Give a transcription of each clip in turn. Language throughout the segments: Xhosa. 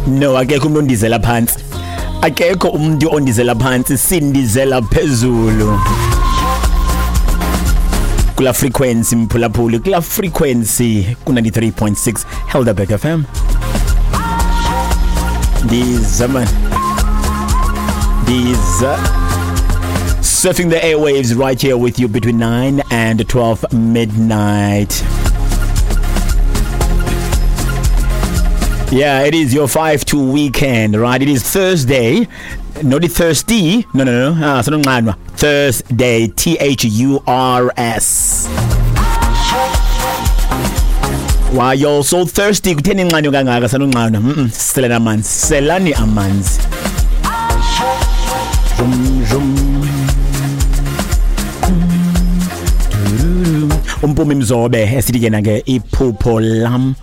No, akekho umuntu ondizela phansi. Akekho umuntu ondizela phansi, sindizela phezulu. Kula frequency mphulaphuli, kula frequency ku 93.6 Helderberg FM. Ndiza man. Ndiza. Surfing the airwaves right here with you between 9 and 12 midnight. Yeah, it is your 5-2 weekend, right? It is Thursday. Not the thirsty. No, no, no. Ah, sanonqanwa. Thursday, T H U R S. Why you're so thirsty? Kutheni inqanyo kangaka sanonqanwa? Selani amanzi. Selani amanzi. Zum zum. Umpumi Mzobe esithi ke nange iphupho lam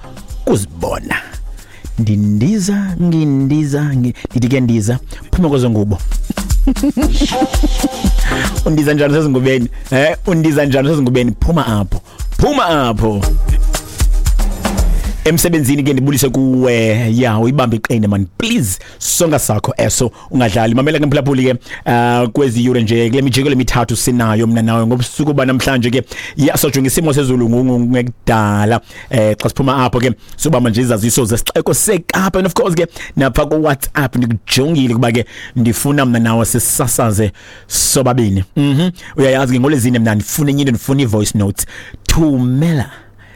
kuzibona. Ndindiza ngindiza ndithi ke ndiza phuma kwezo ngubo. Undiza njani sezingubeni? Undiza njani sezingubeni? Phuma apho. Phuma apho. Emsebenzini ke ndibulise kuwe. Ya, uyibambe iqine man, please. Songa sakho eso ungadlali. Mamela ke mphulaphuli ke kwezi yure nje kule mijiko lemithathu sinayo mina nawe ngobusuku banamhlanje ke. Ya, sojonga isimo sezulu ngekudala. Xa siphuma apho ke sobamba nje izaziso zesixeko seKapa, and of course ke napha ku WhatsApp ndikujongile kuba ke ndifuna mina nawe sisasaze sobabini. Uyayazi ke ngolezine mina ndifuna enye into, ndifuna i-voice notes. Thumela,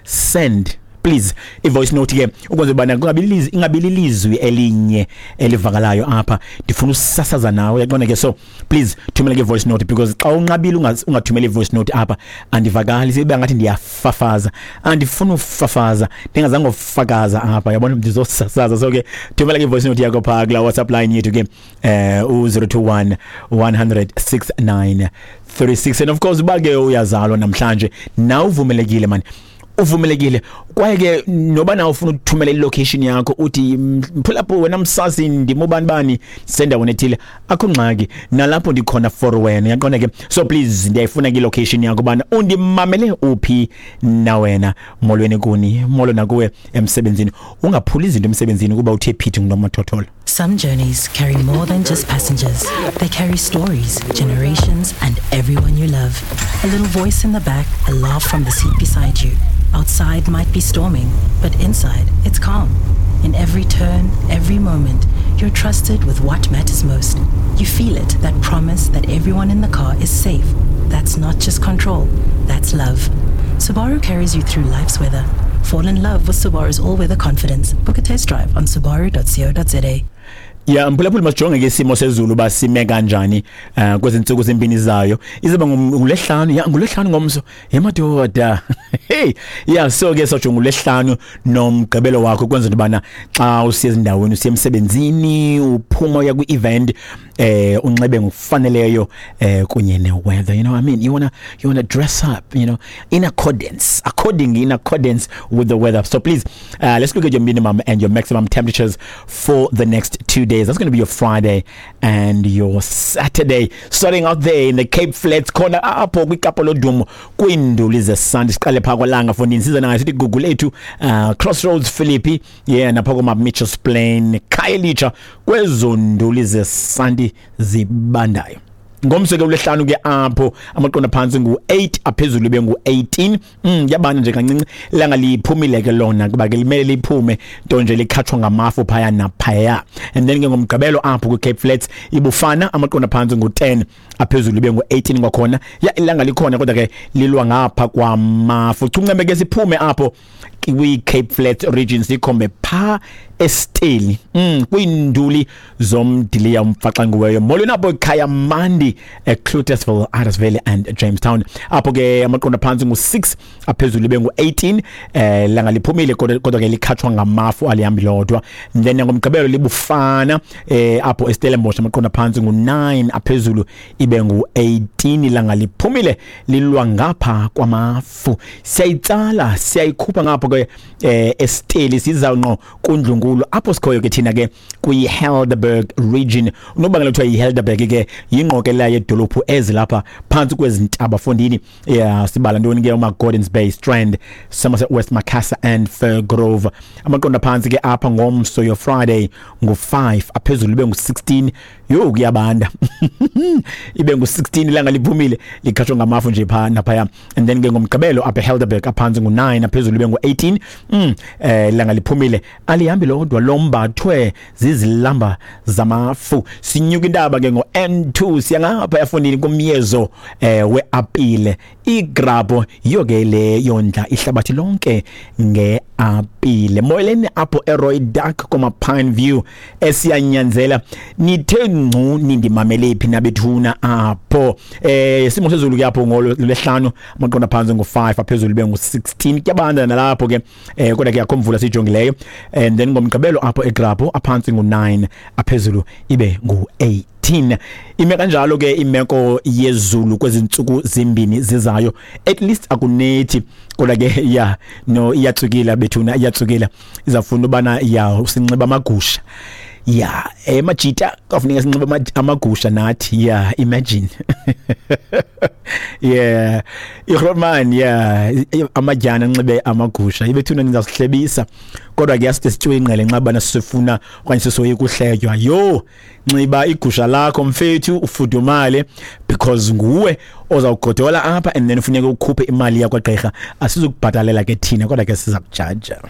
send please i-voice note ke ukwenza ubana kungabi lilizwi elinye elivakalayo apha, ndifuna usasaza nawe, uyaqonda ke. So please thumela ke voice note, because xa unqabile ungathumela i-voice note apha andivakali, sibe ngathi ndiyafafaza, andifuna ufafaza, ndingazange ufakaza apha, yabona, ndizosasaza. So ke thumela ke voice note yakho pha kula WhatsApp line yethu ke u021 100 69 36. And of course uba ke uyazalwa namhlanje na uvumelekile man, uvumelekile kwaye ke noba na ufuna ukuthumela ilocation yakho uthi mphulapo wena msasi ndimubani bani sendaweni ethile, akho ngxaki nalapho ndikhona for wena, uyaqonda ke. So please ndiyayifuna ke ilocation yakho bana undimamele uphi na wena. Molweni kuni, molo nakuwe emsebenzini, ungaphuli izinto emsebenzini kuba uthe phithi ngunomathotholo. Some journeys carry more than just passengers. They carry stories, generations, and everyone you love. A little voice in the back, a laugh from the seat beside you. Outside might be storming, but inside it's calm. In every turn, every moment, you're trusted with what matters most. You feel it, that promise that everyone in the car is safe. That's not just control, that's love. Subaru carries you through life's weather. Fall in love with Subaru's all-weather confidence. Book a test drive on subaru.co.za. Ya, mphulaphuli, masijonge ke isimo sezulu uba sime kanjani kwezi ntsuku zimbini zayo. Izoba ngulesihlanu, ya, ngulesihlanu ngomso. Yemadoda. Hey, ya, so ke sojonga ngulesihlanu nomgqibelo wakho kwenza into bana xa usiya ezindaweni, usiya emsebenzini, uphuma uya kwi-event, unxibe ngokufaneleyo kunye ne-weather. You know what I mean? You wanna dress up, you know, in accordance, according in accordance with the weather. So please, let's look at your minimum and your maximum temperatures for the next 2 days. That's going to be your Friday and your Saturday. Starting out there in the Cape Flats corner, apho kwiKapa lodumo kwiinduli zesandi, siqale phaa kwalanga fondini size nayo sithi Gugulethu, Crossroads, Philippi, yeah, napha koma Mitchells Plain, Khayelitsha, kwezo nduli zesandi zibandayo. Ngomso ke ulesihlanu ke apho amaqonda phantsi ngu-8, aphezulu ibe ngu-18. Yabana nje kancinci, ilanga liphumile ke lona kuba ke limele liphume, nto nje likhatshwa ngamafu phaya naphaya. And then ke ngomgqibelo apho kwi-Cape Flats ibufana, amaqonda phantsi ngu-10, aphezulu ibe ngu-18 kwakhona. Ya, ilanga likhona kodwa ke lilwa ngapha kwamafu. Chuncembe ke siphume apho kwi-Cape Flats region sikhombe pha eSteli, kwiinduli zomdiliya umfaxanguweyo. Molweni apho ekhaya mandi eCloetesville, Addersville and Jamestown. Apho ke amaqonda phantsi ngu-6, aphezulu ibe ngu-18. Langa liphumile kodwa ke likhatshwa ngamafu, alihambi lodwa. Then ngomgqibelo libufana apho eStellenbosch, amaqonda phantsi ngu-9, aphezulu ibe ngu-18. Ilanga liphumile lilwa ngapha kwamafu. Siyayitsala siyayikhupha ngapho ke eSteli siza ngqo kundlunkulu apho sikhoyo ke thina ke kwi-Helderberg region. Unobangela kuthiwa yi-Helderberg ke yingqokelela Ingqokelela yedolophu ezilapha phantsi kwezintaba fondini. Yeah, sibala ntoni ke? Uma-Gordons Bay, Strand, Somerset West, Macassar and Firgrove. Amaqondo aphantsi ke apha ngomso, yo Friday, ngu-5, aphezulu ibe ngu-16. Yho, kuyabanda, ibe ngu-16, ilanga liphumile, likhatshwa ngamafu nje phaa naphaya. And then ke ngomgqibelo apha eHelderberg, aphantsi ngu-9, aphezulu ibe ngu-18. Ilanga liphumile, alihambi lodwa, lombathwe zizilamba zamafu. Sinyuka intaba ke ngo-N2, siya ngapha efondini kumyezo weapile igrabho. Yiyo ke le yondla ihlabathi lonke ngeapile. Molweni apho eRoy Dark koma-Pine View, esiyanyanzela nithe ngcu, nindimamele phi nabethuna apho? Simo sezulu ke apho ngolwehlanu, amaqondo aphantsi ngu-5, aphezulu ibe ngu-16. Kuyabanda nalapho ke, kodwa ke akho mvula siyijongileyo. And then ngomgqibelo apho egrabho, aphantsi ngu-9, aphezulu ibe ngu-18. Ime kanjalo ke imeko yezulu kwezi ntsuku zimbini zizayo. At least akunethi, kodwa ke ya, no, iyatsukila bethuna, iyatsukila. Izawufuna ubana ya sinxiba amagusha ya emajita, kwafuneka sinxiba amagusha nathi. Yeah, imagine, yeah, igrootman, yeah, amadyana anxibe amagusha ibethuna, nizasihlebisa. Kodwa ke aside sityiwe ingqele nxabana sifuna okanye sisoyika uhletywa. Yho, nxiba igusha lakho mfethu, ufudumale, because nguwe ozawugodola apha and then ufuneka ukhuphe imali yakwagqirha. Asizukubhatalela ke thina, kodwa ke siza kujaja.